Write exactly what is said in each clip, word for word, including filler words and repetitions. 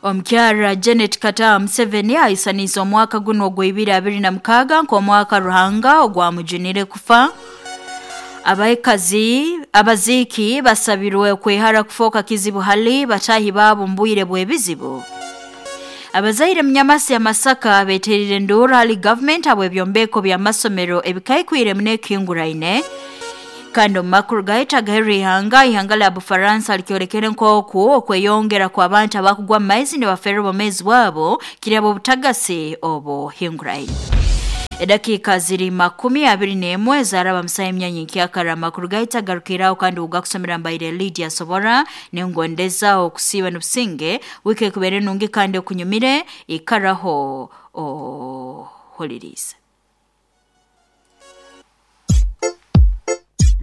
Omukyara Janet Kataha Museveni aisaniza omwaka guno ogw'ibiri abiri na mukaaga nk'omwaka Ruhanga ogwamujunire kufa. Abaikazi abaziiki basabirwe kwehara kufoka kizibu hali batahi baabo mbwire bw'ebizibu. Abazaire mnyamasi ya Masaka beterire ndura hali government abo ebyombeko bya masomero ebikaikwire munekinguraine. Kandi omu gaita gaheri ihanga ihanga la Bufaransa likyolekere nk'oku okweyongera kw'abantu abakugwa maizi nibafeerwa obwomeezi bwabo kirabo obutagasi obo hinguraine. Edakika ziri makumi abiri n'emwe zaraba musayi emyanya nkyakara amakuru gaita garukiraho kandi ugakusomera mbaire Lydia Sobora nengondeza okusiba n'obusinge wiki ekubere nungi kandi okunyumire ikaraho oholirize.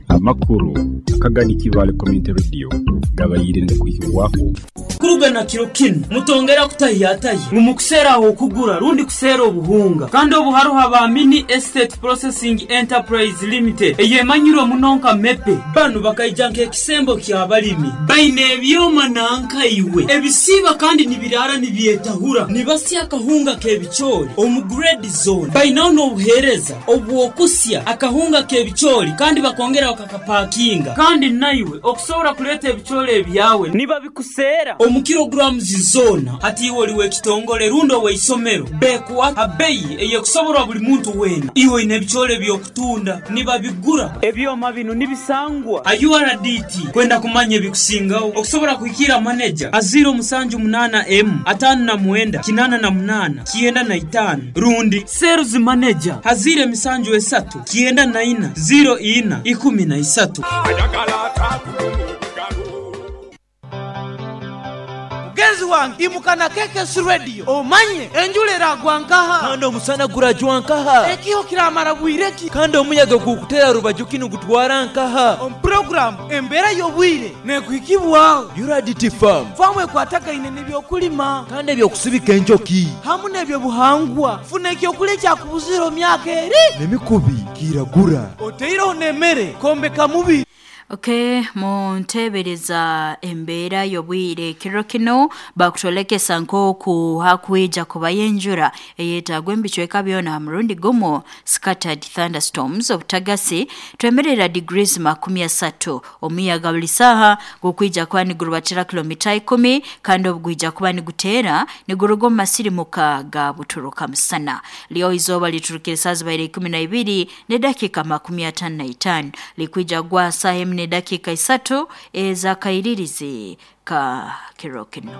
Amakuru akagani Kibale Community Radio gabayirinde kuhirwaho kurugana kiro kino mutongera kutahiyatayi mumukusera aho kugura rundi kusera obuhunga kandi obuharuha ba Mini Estate Processing Enterprise Limited eyemanyirwe munonka mepe banu bakaija nk'ekisembo ky'abalimi baine ebyoma nanka iwe ebisiba kandi nibirara nibyetahura nibasya akahunga k'ebichori omu grade zone bainaho n'obuhereza obwokusya akahunga k'ebichori kandi bakongera bakakapakinga kandi naiwe okusobora kuleta ebichori ebyawe niba bikusera omu kilograms zona hati iwe oliwe kitongole rundo weisomero bekuwa abeyi eyekusoborwa buli muntu wena iwe ine ebichore byokutunda niba bigura ebyoma bino nibisangwa U R D T kwenda kumanya ebikusingaho okusobora kuhikira manager aziro musanju munana m atano na mwenda kinana na munana kienda na itano rundi sales manager hazire misanju esatu kienda na ina zero ina ikumi na isatu. Mugenzi wange imukana K K S Radio omanye enjura eragwa nkaha kandi omusana gurajwa nkaha ekiho kiramara bwireki kandi omuyaga gukutera rubaju kinu gutwara nkaha omu program embeera y'obwire nekuhikibwaho U R D T Farm famu ekwatagaine n'ebyokulima kandi ebyokusibika enjoki hamu n'ebyobuhangwa funa ekyokulya ekyakubuzira myaka eri n'emikubi kiragura oteireho n'emmere kombeka mubi. Okay, muntebereza embeera y'obwire kiro kino bakutolekesa nk'oku hakwija kuba yenjura eyetagwa embicweka byona murundi gumu scattered thunderstorms obutagasi twemerera degrees makumi asatu omuyaga buli saha gukwija kuba nigurubatira kilomita ikumi kandi obugwija kuba nigutera niguruga omu masirimuka ga buturuka musana. Lyo izooba liturukire saa zibaire ikumi na ibiri n'edakiika makumi atano na itaano likwija gwa saa emu n'edakiika isatu ez'akairirizi ka kiro kino.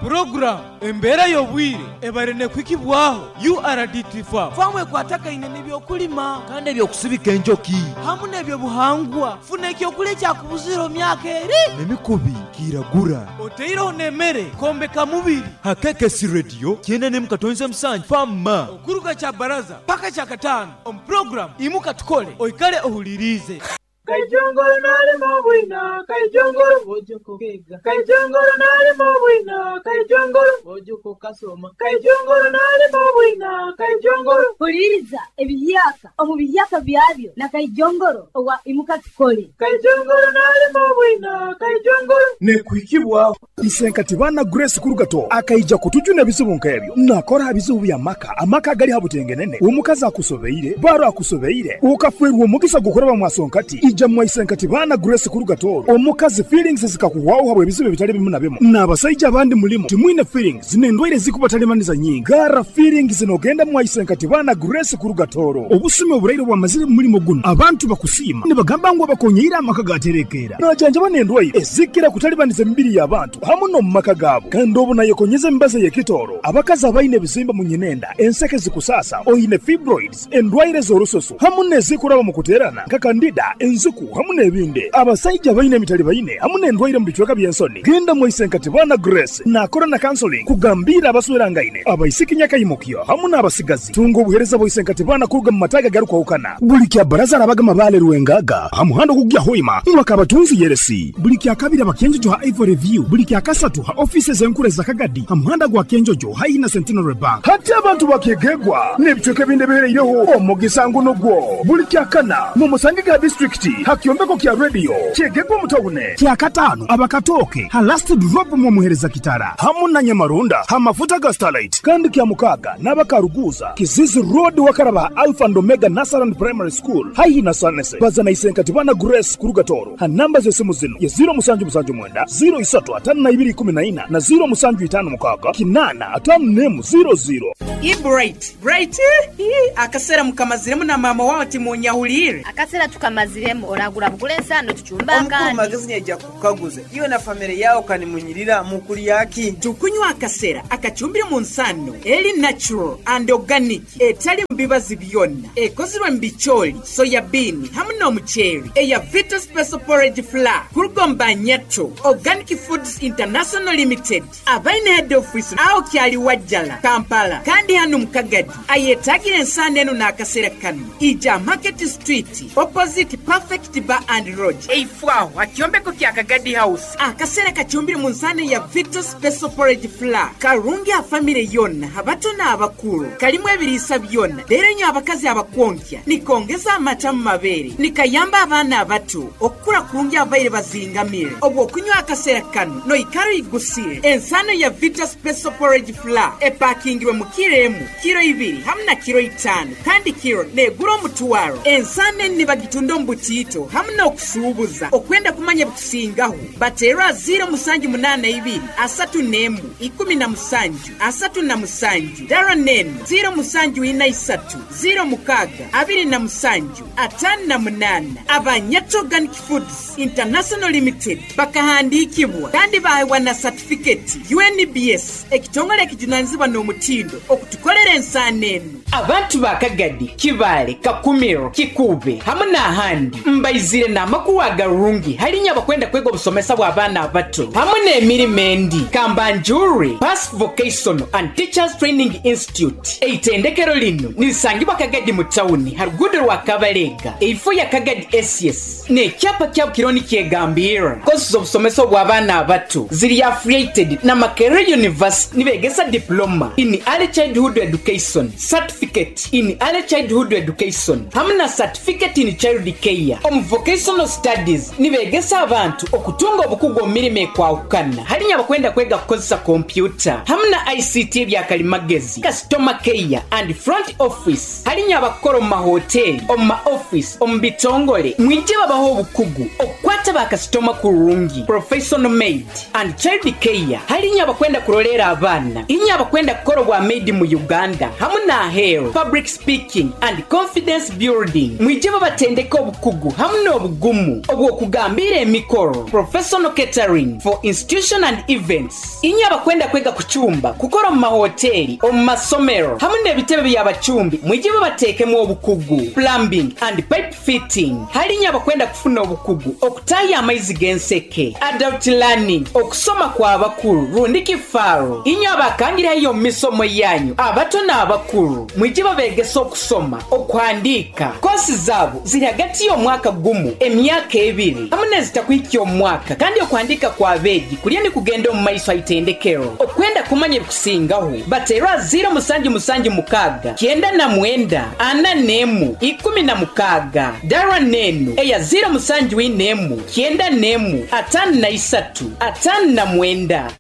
Program embeera y'obwire ebare nekuhikibwaho U R D T Farm famu ekwatagaine n'ebyokulima kandi ebyokusibika enjoki hamu n'ebyobuhangwa funa ekyokulya ekyakubuzira myaka eri n'emikubi kiragura oteireho n'emmere kombeka mubiri ha K K S Radio kyenda n'emu katonze musanju fama okuruga kya baraza paka kya kataano omu program imuka tukole oikale ohulirize. Kaijongoro nalimo bwina, kaijongoro bojoko kega. Kaijongoro nalimo bwina, kaijongoro bojoko kasoma. Kaijongoro nalimo bwina, kaijongoro. Huliriza ebiyaka omu biyaka byabyo na kaijongoro owa imuka tukole. Kaijongoro nalimo bwina, kaijongoro. Nekuhikibwa Isenkati bana Grace Kurugato akaija kutujuna ebizibu nk'ebyo nakora ebizibu bya maka amaka gali habutengenene omukazi akusobeire baro akusobeire ukafwerwa omugisa gukoraba mwasonkati ija mwaisenkati bana Grace Kurugato omukazi feelings zikakuwaho habwe ebizibu bitali bimu na bimu n'abasaija abandi mulimo timwine feelings n'endwaire zikubatalimaniza nyingi gara feelings nogenda mwaisenkati bana Grace Kurugatoro obusumi oburaire bwamazire mulimo guno abantu bakusiima nibagamba ngu abakonyeire amaka gaterekera najanja n'endwaire ezikira kutalibaniza emibiri y'abantu hamu no mumaka gaabo kandi obu nayekonyeza embaza y'ekitoro abakazi abaine ebizimba mu nyinenda enseke zikusasa oine fibroids endwaire z'orusoso hamu n'ezikuraba mu kuterana nka kandida enzuku hamu n'ebindi abasaija baine emitali baine hamu n'endwaire mu bicweka by'ensoni genda mwaisenkati bana Grace nakora na counseling kugambira abaswerangaine abaisiki nyakayimukyo hamu n'abasigazi tunga obuhereza bwaisenkati bana kuruga mu mataga garukwahukana buli kya baraza arabaga mabale rwengaga hamuhando kugya hoima mwakabatunzi yeresi buli kya kabiri abakenjojo ha Ivory View buli kya kasatu ha offices enkure za Kagadi hamuhanda gwa Kenjojo haina Centenary Bank hati abantu bakegegwa n'ebicweka ebindi bihereireho omugisa ngu nugwo buli kya kana mu musange ga district Street hakyombeko kya radio kyegegwa mutawune kyakatano abakatoke ha last drop mu muhereza kitara hamu na Nyamarunda hamafuta ga Starlight kandi kya mukaga n'abakaruguza Kizizi Road wakaraba Alpha and Omega Nasaran Primary School haihi na Sanese bazana isenkati bana Grace Kurugatoro ha namba z'esimu zino ya zero musanju musanju mwenda zero isatu atano na ibiri kumi na ina na zero musanju itano mukaga kinana atano nemu zero zero. I bright bright akasera mukamaziremu na mama wawe timunyahulire akasera tukamaziremu oragura bugule nsano tuchumba akandi magazini yaja kukaguza iwe na familia yao kanimunyirira mukuli yaki tukunywa akasera akachumbire mu nsano eli natural and organic etali mbibazi byonna ekozirwe mbicholi soya bean hamu n'omuceeri eya Vita Special Porridge Flour kurugomba Nyato Organic Foods International Limited abaine head office aho kyali Wajjala Kampala kandi hano Mukagadi ayetagira ensano eno n'akasera kano ija Market Street opposite Perfect Bar and Lodge eifwaho akyombeko kya Kagadi House akasera kachumbire mu nsano ya Vita Special Porridge Flour karungi a family yonna abato n'abakulu kalimu ebiriisa byonna leero nnyo abakazi abakwonkya nikongeza amata mu mabeere nikayamba abaana abato okukula kulungi abaire bazingamire obwo okunywa akaseera kano noikaro igusire ensano ya Vita Special Porridge Flour epakingirwe mu kiro emu kiro ibiri hamu na kiro itaano kandi kiro negura omutwaro ensano eni nibagitunda omu butiito hamu n'okusuubuza okwenda kumanya bikusingaho bateerwa ziro musanju munaana ibiri asatu n'emu ikumi na musanju asatu na musanju dara nenu ziro musanju ina isatu ziro mukaga abiri na musanju atano na munana Abanyato Organic Foods International Limited bakahandikibwa kandi bahewa na certificate U N B S ekitongole ekijunanizibwa n'omutindo okutukolera ensaano eno abantu ba Kagadi Kibale Kakumiro Kikube hamu n'ahandi mbaizire n'amakulu agarungi halinya abakwenda kwega obusomesa bw'abaana abato hamu n'emirimo endi Kambanjuri Pass Vocational and Teachers Training Institute eitendekero lino nilisangibwa Kagadi mu tawuni harugudo rwa Kabalega eifo ya Kagadi S S n'ekyapa kyabo kironi kyegambira kosi z'obusomesa bw'abaana abato ziri affiliated na Makerere University nibegesa diploma in early childhood education certificate in early childhood education hamu na certificate in child care omu vocational studies nibegesa abantu okutunga obukugu omu mirimo ekwahukana halinya abakwenda kwega kukozesa kompyuta hamu na I C T ebyakalimagezi customer care and front office halinya abakora omu mahoteli omu ma office omu bitongole mwije babaho obukugu okukwata bakasitoma kurungi professional maid and child care halinya abakwenda kurolera abaana inya abakwenda kukora obwa maid mu Uganda hamu na ahero public speaking and confidence building mwije babatendeka obukugu hamu n'obugumu obw'okugambira emikoro professional catering for institution and events inya abakwenda kwega kuchumba kukora omu mahoteli omu masomero hamu n'ebitebe by'abachumbi mwije babateekemu obukugu plumbing and pipe fitting halinya abakwenda kufuna obukugu okutaya amaizi g'enseke adult learning okusoma kw'abakulu rundi kifaaro inya abakangirayo mu misomo yanyu abato n'abakulu mwije babegesa okusoma okuhandiika kosi zaabo ziri hagati y'omwaka gumu emyaka ebiri hamu n'ezitakuhikya omwaka kandi okuhandiika kw'abeegi kulya ni kugenda omu maiso aitendekero okwenda kumanya ebikusingaho bateerwa ziro musanju musanju mukaaga kyenda na mwenda ana n'emu ikumi na mukaaga dara nenu eya ziro musanju ina emu kyenda n'emu atano na isatu atano na mwenda.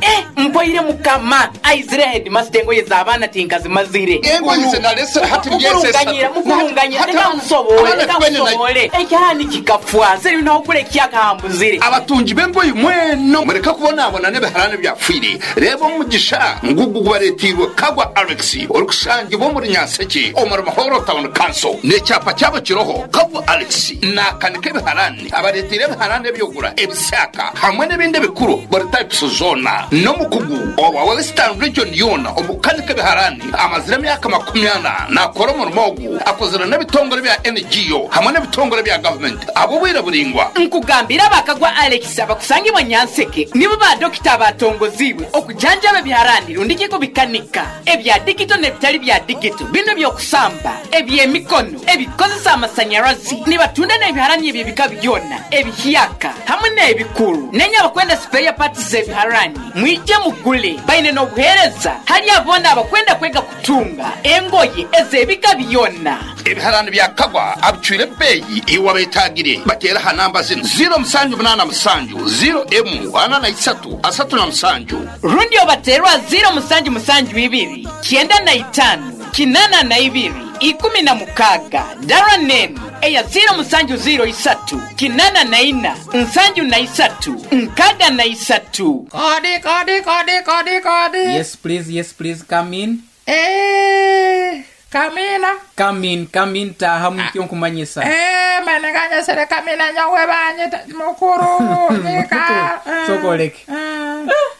Eh, mpoire mukama aizire headmaster engoye z'abaana tinkazimazire mukurunganyira mukurunganyira reka nkusobole reka nkusobole ekyani kikafwa seri nokule kyakahambuzire abatungi b'engoyi mweno mureka kubonabona n'ebiharani byafwire reba omugisha ngugu gubaretirwe Kagwa Alex orikusangibwa omuri Nyanseke omuri Mahoro Town Council n'ekyapa kyabo kiroho Kagwa Alex nakanika ebiharani abaretire ebiharani ebyogura ebisaka hamwe n'ebindi bikuru buri types zona n'omukugu owa Western Region yona omukanika ebiharani amazire emyaka makumi ana nakora omurimo ogu akozire n'ebitongore bya N G O hamwe n'ebitongore bya government abo bwire buringwa nkugambira bakagwa Alex abakusangibwa Nyanseke nibo ba dokita batongoziwe okujanjaba ebiharani rundikiko bikanika ebya digito n'ebitali bya digito bino byokusamba ebyemikono ebikozesa amasanyarazi nibatunda n'ebiharani ebyo bika byona ebihyaka hamwe n'ebikuru nenya abakwenda spare parts z'ebiharani mwije mugule. Baine n'obuheereza hali abona abakwenda kwega kutunga engoye ez'ebika byonna. Ebiharani bya Kagwa abicwire beyi iwabetagire batera ha namba zino zero musanju munana musanju zero emu ana na isatu asatu na musanju rundi obaterwa zero musanju musanju ibiri kyenda na itano kinana na ibiri ikumi na mukaga dara nenu eya zero musanju zero isatu kinana na ina nsanju na isatu nkaga na isatu. Kodi kodi kodi kodi kodi. Yes please, yes please, come in. Eh, kamina. Come in, come in, taha mukyo nkumanyisa. Eh, manenganya sere kamina nyawe banye mukuru nika. Sokoleke.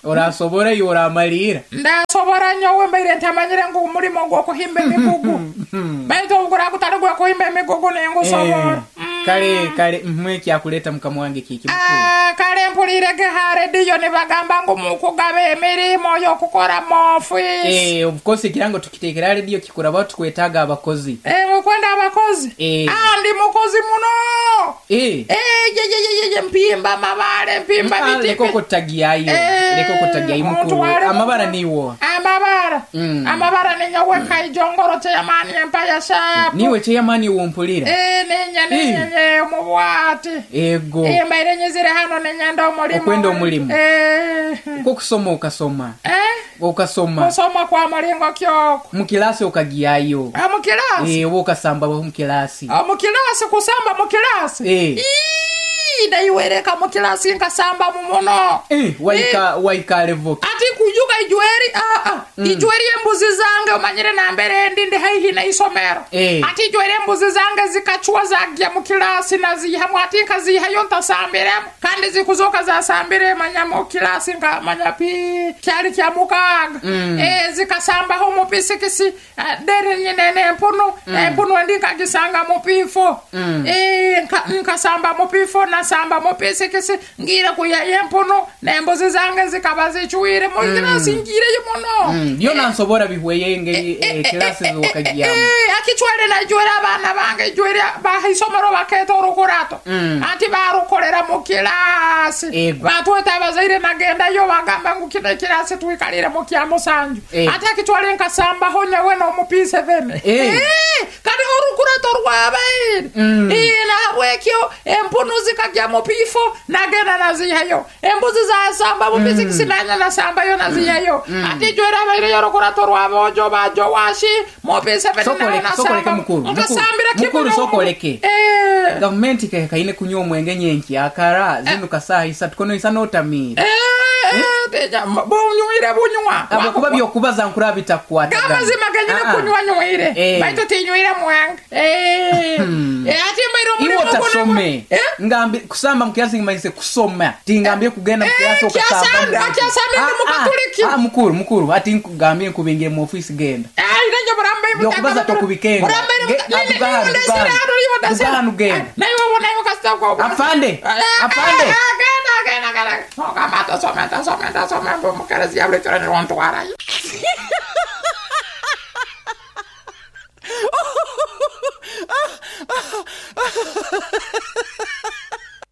Orasobora yoramalira. Ndasobora nyowe mbaire ntamanyire ngu umulimo gwo kuhimba emigugu. Baitu obukura kutali gwo kuhimba emigugu nengusobora. Kale kale mmwe kyakuleta mukama wange kiki mukuru. Ah, kale mpulire ha radio nibagamba ngu mukugaba emirimo y'okukora mu office. Eh, of course kirango tukitekera radio kikura batu kwetaga abakozi. Eh, mukwenda abakozi. Eh. Ah, ndi mukozi muno. Eh. Eh, ye ye ye ye mpimba mabale mpimba biti. Leko kotagiyayo. Eh, Leko kotagiyayo mukuru. Amabara niwo. Amabara. Mm. Amabara ninyowe kaijongoro chairman empaya sharp. Niwe chairman wompulira. Eh, ninya ninya eh. Mubwati. Ego. Eh, mbaire nyizire hano nenyenda omulimo. Okwenda omulimo. Eh. Uko kusoma ukasoma. Eh? Ukasoma. Kusoma kwa mulingo kyoko. Mukilasi ukagiyayo. Ah, mukilasi. Eh, ukasamba mu kilasi. Ah, mukilasi kusamba mukilasi. Eh. Ii, ndaiwereka mukilasi nkasamba mumuno. Eh, waika eh. Waika levo. Ati kujuka ijueri ah ah. Mm. Ijueri embuzi zange omanyire na mbere ndi ndi haihi na isomero. Eh. Ati ijueri embuzi zange zikachwa zagya mukilasi na zihamu ati nkazihayo ntasambiremo. Kandi zikuzoka zasambire manya mukilasi nka manya pi kyali kya mukaga. Mm. Eh, zikasamba ho mupisikisi dere nyine ne empunu mm. empunu ndi nkagisanga mupifo. Mm. Eh, nka, nkasamba mupifo na samba mupisikisi ngira kuya empunu nembuzi zange zikaba zichuire mukilasi mm. ngire muno. Mm. Yo nansobora bihweye ngeri eh, eh, kilasi eh, zokagyamu. Eh, akichwere na jwera abana bange jwera bahisomero baketo rukurato. Mm. Ati barukorera mu kilasi. Eh, batweta abazaire nagenda yo bagamba ngu kino kilasi twikalire mu kya musanju. Eh. Ati akichwere nkasamba ho nyawe no mu P seven. Eh. Eh, kandi orukurato rwabaire. Mm. Eh, na wekyo empunu zikagya mu pifo nagenda nazihayo. Embuzi zasamba mu physics mm. nanya nasamba yo nazihayo. Mm. Ati jwera abaire yorukurato rwabojo bajo washi mu P seven. Sokoleke, sokoleke mukuru. Nkasambira mukuru sokoleke. Eh. Government kaine kunywa omwenge nyenki akara zinu kasaha isatu kono isano otamira. Eh, eh, bunywire bunywa. Abo kuba byokubaza nkura bitakwata. Gamazima ganyine kunywa nywire. Eh. Baitu tinywire mwenge. Eh. Eh, ati mbaire omulimo Iwo tasome. Ngambi kusamba mukilasi ngimanyise kusoma. Tingambye kugenda mukilasi okasamba. Akyasamba ndi mukatuliki. Ah, mukuru mukuru ati nkugambye nkubingire mu office genda. Eh, irenje murambe byokubaza tokubikenga. Duganu genda. Nayo wona yo kasita kwa. Afande. Afande. Genda genda genda. Okamata soma soma soma mbukarezi yabule torene wontwara.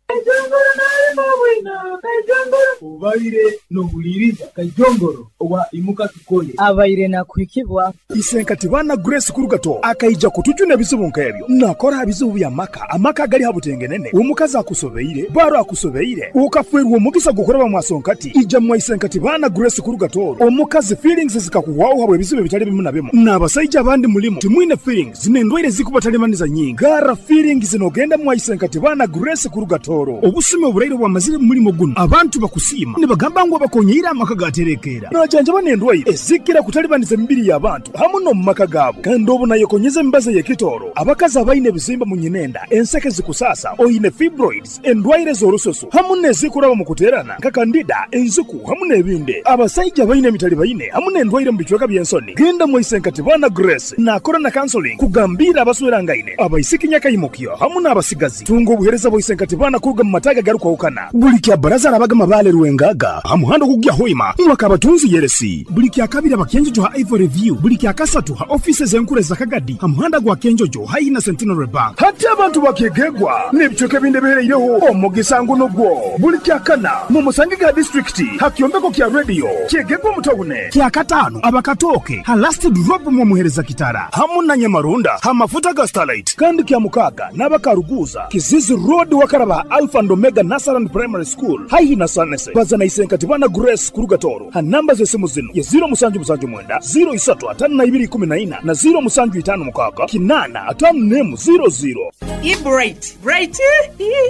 Kaijongoro nalimo bwina kaijongoro ubaire nohuliriza kaijongoro owa imuka tukole abaire nakuhikibwa isenkati bana Grace Kurugato akaija kutujuna ebizibu nkebyo nakora ebizibu bya maka amaka gali habutengenene omukazi akusobeire baro akusobeire ukafwerwa omugisa gukoraba mwasonkati ija mwa isenkati bana Grace Kurugato omukazi feelings zikakuwaho habwe ebizibu bitali bimu na bimu n'abasaija abandi mulimo timwine feelings nendwaire zikubatalemaniza nyingi gara feelings nogenda mwa isenkati bana Grace Kurugato obusime obulaire bwamazire mulimo guno abantu bakusiima nibagamba ngu abakonyeire amaka gaterekeera najanja banendwaire ezikira kutalibaniza emibiri y'abantu hamu n'omu maka gaabo kandi obu nayekonyeza emibazi ey'ekitooro abakazi abaine ebizimba mu nyinenda enseke zikusasa oine fibroids endwaire z'orususu hamu n'ezikuraba mu kuteerana nka kandida enziku hamu n'ebindi abasaija abaine emitali baine hamu n'endwaire mu bicweka by'ensoni genda mwisenkati bana Grace nakora na counseling kugambira abaswerangaine abaisiki nyakayimukyo hamu n'abasigazi tunga obuhereza bw'isenkati bana kuruga mu mataga garukwawukana buli kya baraza arabaga mabale Rwengaga ha muhanda gugya Hoima mwakabatunzi yeresi buli kya kabiri abakenjojo ha Ivory View buli kya kasatu ha offices enkure za Kagadi ha muhanda gwa Kenjojo hayi na Centenary Bank hati abantu bakegegwa n'ebicweka ebindi bihereireho omugisa nguno gwo buli kya kana mu Musangiga district ha kyombeko kya radio kyegegwa mutawune kya katano abakatoke ha last drop mu muhereza kitara hamu na Nyamarunda ha mafuta ga Starlight kandi kya mukaga n'abakaruguza Kizizi Road wakaraba Alpha and Omega Nasaran Primary School haihi na Sanese bazana isenkati bana Grace Kurugatoro ha namba z'esimu zino ya zero musanju musanju mwenda zero isatu atano na ibiri kumi na ina na zero musanju itano mukaga kinana atano nemu zero zero. I bright bright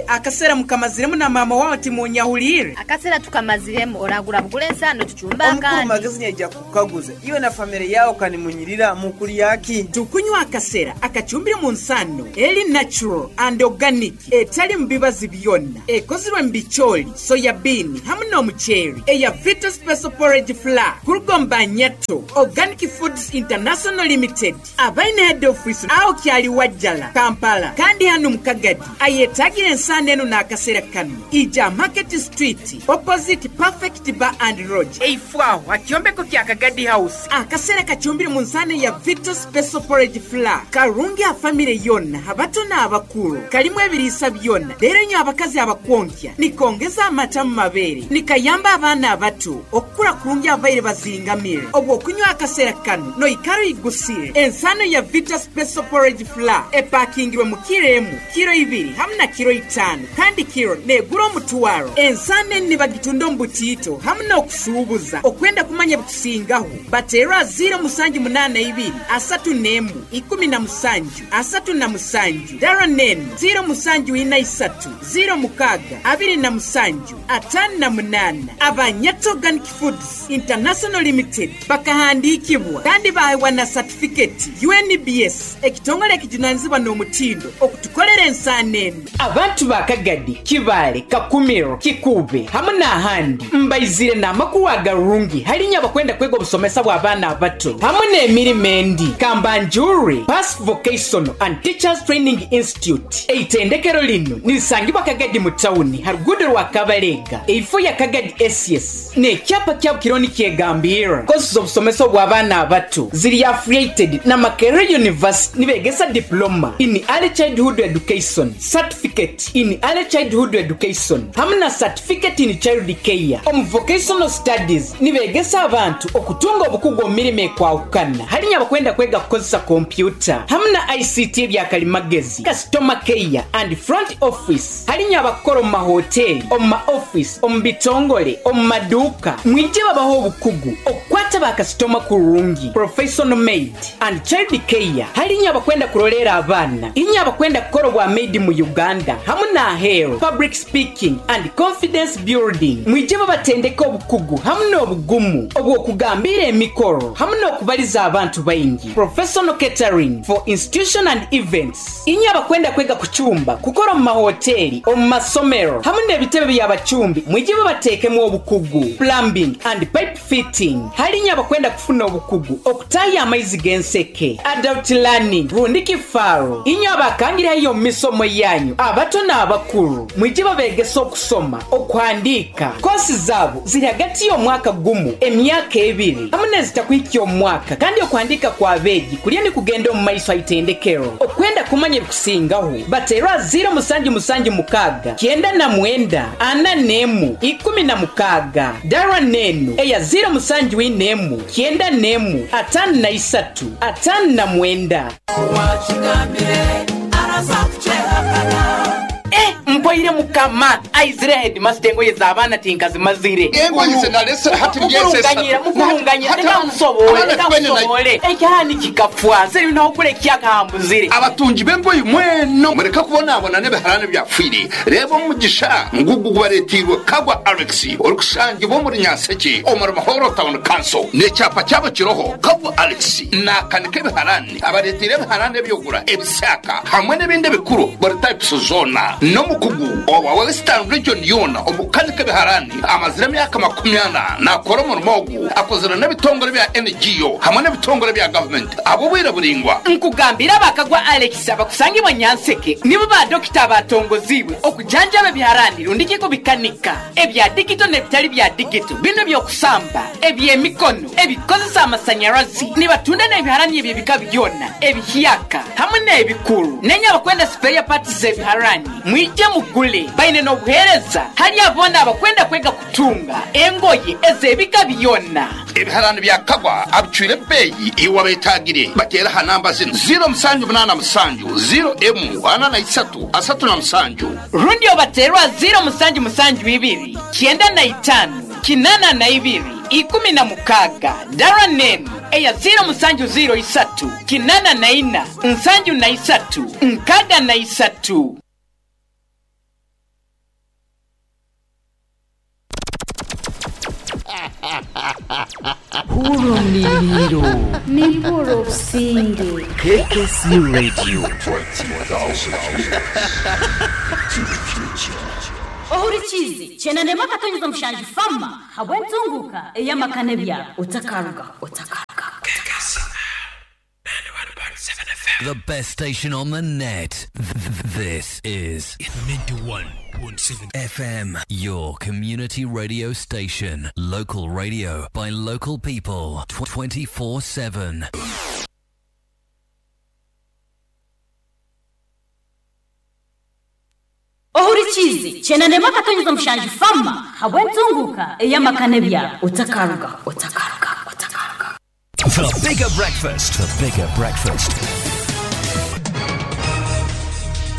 akasera mukamaziremu na mama wao timunyahulire akasera tukamaziremu oragura bugule ensano tuchumba Omukuru kandi magazine yaja kukaguza iwe na familia yao kanimunyirira mukuli yaki tukunywa akasera akachumbire mu nsano eri natural and organic etali mbibazi byonna ekozirwe mu bicholi soya bean hamu n'omuceeri eya Vita Special Porridge Flour kurugomba Nyato Organic Foods International Limited abaine head office aho kyali Wajjala Kampala kandi hano mu Kagadi ayetagira ensano eno n'akaseera kano ija Market Street opposite Perfect Bar and Lodge eifwaho akyombeko kya Kagadi House akaseera kachumbire mu nsano ya Vita Special Porridge Flour karungi a family yonna abato n'abakulu kalimu ebiriisa byonna leero nnyo abakazi abakwonkya nikongeza amata mu mabeere nikayamba abaana abato okukula kulungi abaire bazingamire obwo okunywa akaseera kano noikaro igusire ensano ya Vita Special Porridge Flour epakingirwe mu kiro emu kiro ibiri hamu na kiro itaano kandi kiro negura omutwaro ensano eni bagitunda omu butiito hamu n'okusuubuza okwenda kumanya bikusingaho bateerwa ziro musanju munaana ibiri asatu n'emu ikumi na musanju asatu na musanju dara nenu ziro musanju ina isatu ziro mukaga abiri na musanju atano na munana Abanyato Organic Foods International Limited bakahandikibwa kandi bahewa na certificate U N B S ekitongole ekijunanizibwa n'omutindo okutukolera ensano eno abantu ba Kagadi Kibale Kakumiro Kikube hamu n'ahandi mbaizire n'amakulu agarungi halinya abakwenda kwega obusomesa bw'abaana abato hamu n'emirimo endi Kambanjuri Pass Vocational and Teachers Training Institute eitendekero lino nilisangibwa Kagadi mu tawuni ha rugudo rwa Kabalega eifo ya Kagadi S S n'ekyapa kyabo kironi kyegambira kosi z'obusomesa bw'abaana abato ziri affiliated na Makerere University nibegesa diploma in early childhood education certificate in early childhood education hamu na certificate in child care omu vocational studies nibegesa abantu okutunga obukugu omu mirimo ekwahukana halinya abakwenda kwega kukozesa kompyuta hamu na I C T ebyakalimagezi customer care and front office halinya abakora omu mahoteli omu ma office omu bitongole omu maduuka mwije babaho obukugu okukwata bakasitoma kurungi professional maid and child care halinya abakwenda kurolera abaana inya abakwenda kukora obwa maid mu Uganda hamu na ahero public speaking and confidence building mwije babatendeka obukugu hamu n'obugumu obw'okugambira emikoro hamu n'okubaliza abantu baingi professional catering for institution and events inya abakwenda kwega kuchumba kukora mu mahoteli omu masomero hamu n'ebitebe by'abachumbi mwije babateekemu obukugu plumbing and pipe fitting halinya abakwenda kufuna obukugu okutaya amaizi g'enseke adult learning rundi kifaro inya abakangirayo mu misomo yanyu abato n'abakulu mwije babegesa okusoma okuhandiika kosi zaabo ziri hagati y'omwaka gumu emyaka ebiri hamu n'ezitakuhikya omwaka kandi okuhandiika kw'abeegi kulya ni kugenda omu maiso aitendekero okwenda kumanya ebikusingaho bateerwa ziro musanju musanju mukaaga kyenda na mwenda ana n'emu ikumi na mukaaga dara nenu eya ziro musanju inemu kyenda n'emu atano na isatu atano na mwenda. Eh, mpoire mukama aizire headmaster engoye z'abaana tinkazimazire engoye zinalesera hati mukurunganyira mukurunganyira reka nkusobole reka nkusobole ekyahani kikafwa seri nokule kyakahambuzire abatungi b'engoye mweno mureka kubonabona n'ebiharani byafwire reba omugisha ngugu gubaretirwe Kagwa Alex orikusangibwa omuri Nyanseke omuri Mahoro Town Council n'ekyapa kyabo kiroho Kagwa Alex nakanika ebiharani abaretire ebiharani ebyogura ebisaka hamwe n'ebindi bikuru buri types zona no Omukugu owa Western Region yona omukanika biharani amazire emyaka makumi ana nakora omurimo ogu akozire n'ebitongore bya N G O hamwe n'ebitongore bya government abo bwire buringwa. Nkugambira bakagwa Alex abakusangibwa Nyanseke nibo ba dokita batongoziwe okujanjaba biharani rundiki kubikanika ebya digito n'ebitali bya digito bino byokusamba ebyemikono ebikozesa amasanyarazi nibatunda n'ebiharani ebyebika byona ebihiyaka hamwe n'ebikuru nenya abakwenda spare parts z'ebiharani mwije mugule baine n'obuhereza hali abona abakwenda kwega kutunga engoye ezebika byona. Ebiharani bya Kagwa abicwire beyi iwa betagire batera ha namba zino zero musanju munana musanju zero emu ana na isatu asatu na musanju rundi obaterwa zero musanju musanju ibiri kienda na itano kinana na ibiri ikumi na mukaga dara nenu eya zero musanju zero isatu kinana na ina nsanju na isatu nkaga na isatu. Hurumliro Niburo Singi K K C Radio. Ohurichizi chenanema katonyeza mshanji fama habwentunguka eyamakane bya utakaruga utakaruga. K K C ninety-one point seven F M. The best station on the net. This is ninety-one point seven F M, your community radio station. Local radio by local people twenty-four seven. Ohurichizi chenanema katonyeza mshanji fama habwentunguka eyamakane bya utakaruga utakaruga utakaruga. The bigger breakfast. The bigger breakfast.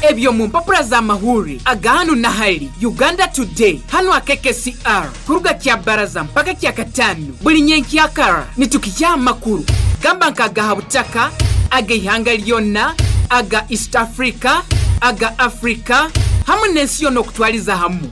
Ebyo mu mpapura za mahuri agahanu na hali Uganda Today hano a K K C R kuruga kya baraza mpaka kya katano buli nyenki yakara nitukijya amakuru gamba nkagaha butaka aga ihanga lyonna aga East Africa aga Africa hamwe n'ensi yonna okutwaliza hamu.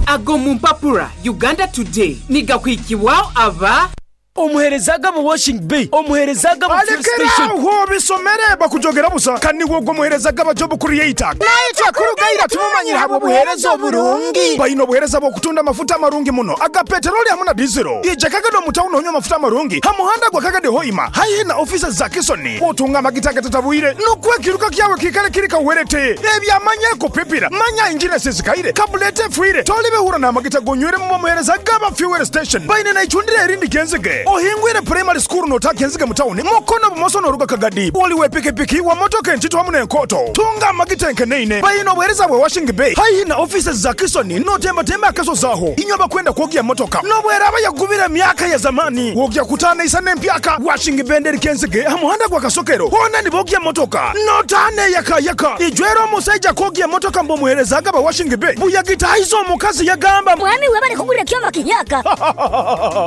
Ago mu mpapura Uganda Today nigakwikibwaho aba omuherezaga mu washing bay omuherezaga mu fuel station aho bisomere bakujogera busa kandi wogo muherezaga ba job creator naitwa kurugaira tumumanyira habo buherezo burungi bayino buhereza bo kutunda mafuta marungi muno aga petroli hamuna diesel ije kagado mutauno onywa mafuta marungi hamuhanda gwa kagade hoima hayi na offices za Kisoni otunga magitaka tatabuire nukwe kiruka kyawe kikale kirika uwerete ebyamanye kupipira manya engine sezikaire kabulete fuire tolibe hura na magita gonywere mu muherezaga ba fuel station bayine na ichundire erindi genzege ohingwire primary school no takenzige mutawuni mukono bumoso noruga kagadi waliwe pikipiki wa motoka entito hamwe n'enkoto tunga amagita enkeneine bayino obuhereza bwe washing bay haihi na offices za Kisoni notemba temba akaso zaho inywa bakwenda kwogya motoka nobwera abayagubira myaka ya zamani wogya kutana isane empyaka washing benderi kenzige hamuhanda gwa kasokero hona nibogya motoka notane yaka yaka ijwero omusajja kwogya motoka mbo muherezaga ba washing bay buyagita hizo omukazi yagamba mwami webale kugulira kyoma kinyaka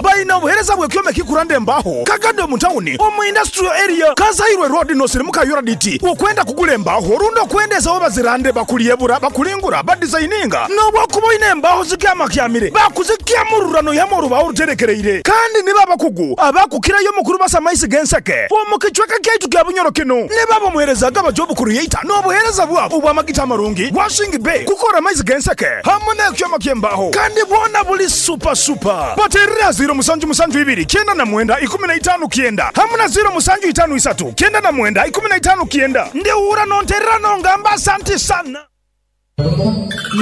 bayina obuhereza bwe kyoma kikurande mbaho kagado mutawuni omu industrial area kazairwe road no sirimuka yuraditi okwenda kugula embaho rundo kwendeza oba zirande bakuliyebura bakulingura badesigninga nobwo kuboine embaho zikyamakyamire bakuzikyamururano yamoruba oruterekereire kandi niba abakugu abakukirayo mukuru basamaisi genseke omukichweka kyaitu kya Bunyoro kino niba bomuherezaga ba job creator n'obuhereza bwabo obwamagita amarungi washing bay kukora amaizi genseke hamwe n'ekyoma kyembaho kandi bwona buli super super baterera zero musanju musanju ibiri kienda na mwenda ikumi na itano kienda hamuna zero musanju itano isatu kienda na mwenda ikumi na itano kienda ndi uhura nonterera nongamba asante sana.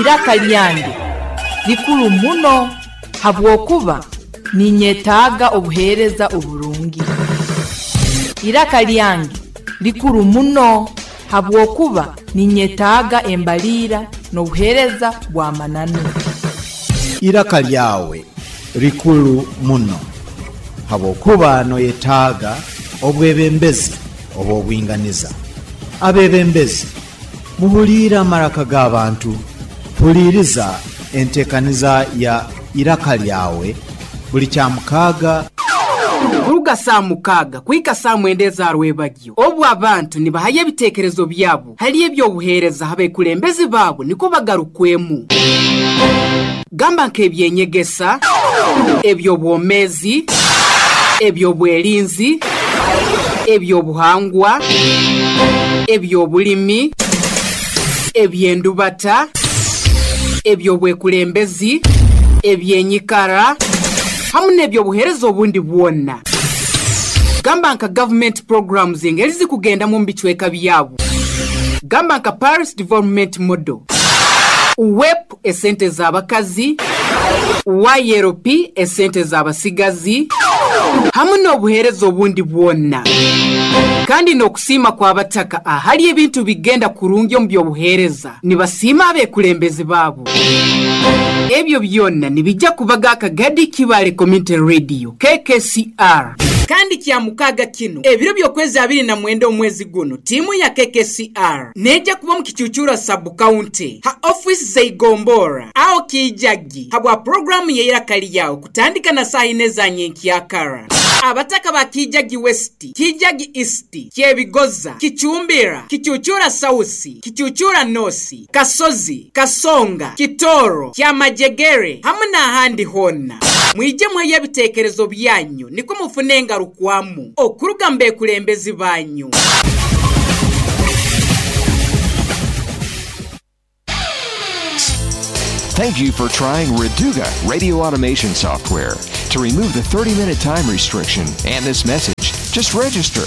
Iraka lyange likulu muno habwokuba ninyetaaga obuheereza oburungi. Iraka lyange likulu muno habwokuba ninyetaaga embaliira n'obuheereza bwa mananu. Iraka lyawe likulu muno habwokuba noyetaaga obwebembezi obwobwinganiza. Abebembezi muhuliira amaraka g'abantu, huliiriza entekaniza ya iraka lyawe buli kya mukaaga kuruga saa mukaaga kuhika saa mwenda ezarwebagyo obwo abantu nibahayo ebiteekerezo byabo hali ebyobuheereza abekulembezi baabo niko bagarukwemu gamba nk'ebyenyegesa ebyobwomezi ebyobwerinzi ebyobuhangwa ebyobulimi ebyendubata Ebyobwekulembezi, ebyenyikara hamu n'ebyobuheereza obundi bwona. Gamba nka government programs engeri zikugendamu mu bicweka byabo. Gamba nka Paris Development Model, W E P esente z'abakazi, Y L P esente z'abasigazi, hamu n'obuheereza obundi bwona. Kandi n'okusiima kw'abataka ahali ebintu bigenda kurungi omu by'obuheereza, nibasiima abekulembezi baabo. Ebyo byonna nibijja kubaga Akagadi Kibale Community Radio K K C R. Kandi kya mukaaga kino, ebiro by'okwezi abiri na mwenda omwezi guno, tiimu ya K K C R nejja kuba mu Kicucura sub county ha ofisi zeigombora aho Kijagi habwa programu yeiraka lyawo kutandika na saa ine za nyenkyakara. Abataka ba Kijagi West, Kijagi East, Kyebigoza, Kichumbira, Kichuchura South, Kichuchura North, Kasozi, Kasonga, Kitoro, Kyamajegere hamwe n'ahandi honna, mwije mweyo ebiteekerezo byanyu niko mufune engarukwamu okuruga mbekulembezi banyu. Thank you for trying Reduga radio automation software. To remove the thirty minute time restriction and this message, just register.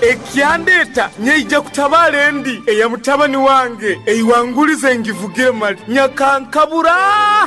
Ekyandeta nyeija kutabala endi eya mutabani wange eiwangulize ngivugire mali nyakankabura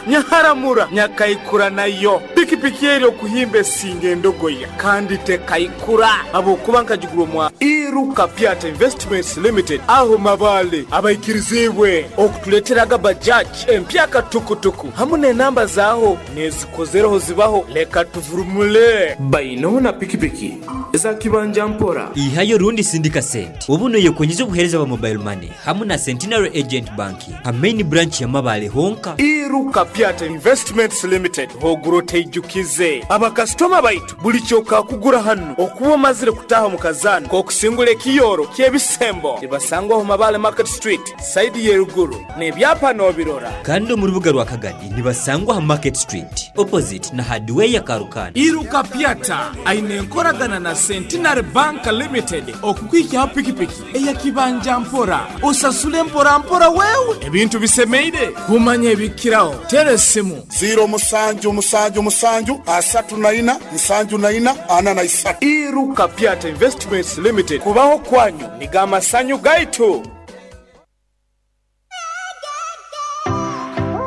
nyaharamura nyakaikura nayo pikipiki eri okuhimba esinga endogoya kandi tekaikura abokuba nkagigura omwa Iruka Piata Investments Limited aho Mabale abaikirizibwe okutuleteraga bajaji empyaka tukutuku hamu n'enamba zaaho nezikozereho zibaho leka tuvurumule. Baino na pikipiki za kibanja mpora. Ihayo rundi sindika sente ubu yekonyeza obuhereza bwa mobile money hamu na Centenary Agent Banking ha main branch ya Mabale honka. Iruka Piata Investments Limited hoguro teijukize abakasitoma baitu buli kyoka kugura hano okuba omazire kutaha mu kazana kokusingula ekiyoro kyebisembo ibasangwaho Mabale Market Street side yeruguru n'ebyapa n'obirora. Kandi mu rubuga rwa Kagadi nibasangwa ha Market Street opposite na hardware ya Karukana. Iruka Piata aine enkoragana na Centenary Bank Limited okukwikiaho pikipiki eyakibanja mpora osasule mpora mpora wewe ebintu bisemeire kumanya ebikiraho tere esimu ziro musanju musanju musanju asatu na ina nsanju na ina ana na isatu. Iruka Piata Investments Limited kubaho kwanyu nigamasanyu gaitu.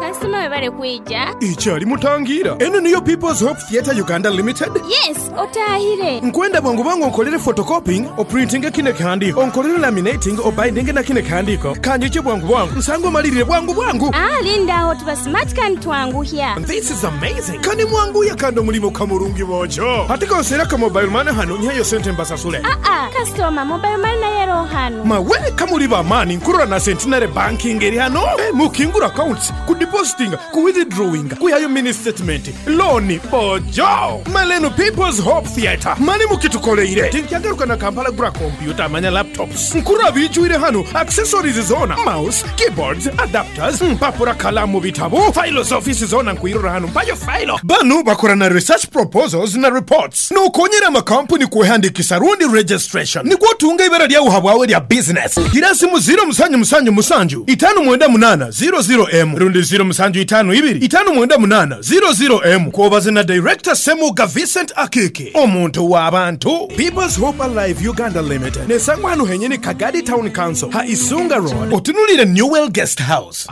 Kasitoma kwija. Ikyali mutangira eno niyo People's Hope Theatre Uganda Limited. Yes, otahire. Nkwenda bwangu bwangu onkolere photocopying, oprinting kine kihandiko, onkolere laminating, obinding na kine kihandiko kanjike bwangu bwangu nsango malirire bwangu bwangu. Ah, linda aho tuba smart kan twanguhya. This is amazing. Kani mwanguya kando mulimo kamurungi bojo hatiko nsera ka mobile money hano nyayo sente mbasasule. Ah ah, customer, mobile money nayero hano. Mawe kamuli ba mani nkurora na Centenary Banking eri hano eh, mukingura accounts ku depositing, ku withdrawing, kuyayo mini statement, loan bojo maleno People's Hope Theatre mani mukitukoleire tinkyagaruka na Kampala gura computer manya laptops nkura bijuire hano accessories zona mouse, keyboards, adapters, mpapura, kalamu, bitabo, files, office zona nkuirora hano mpayo file banu bakora na research proposals na reports nokonyera amakampuni kuhandikisa rundi registration nigwo tunga ibara lyawo habwawe lya business gira simu zero musanju musanju musanju itanu mwenda munana zero zero m rundi zero musanju itanu ibiri itanu mwenda munana zero zero m kwobaze na director Semuga Vincent Akiki omuntu w'abantu. People's Hope Alive Uganda Limited nesangwa hano henyene Kagadi Town Council ha Isunga Road otunulire Newell Guest House.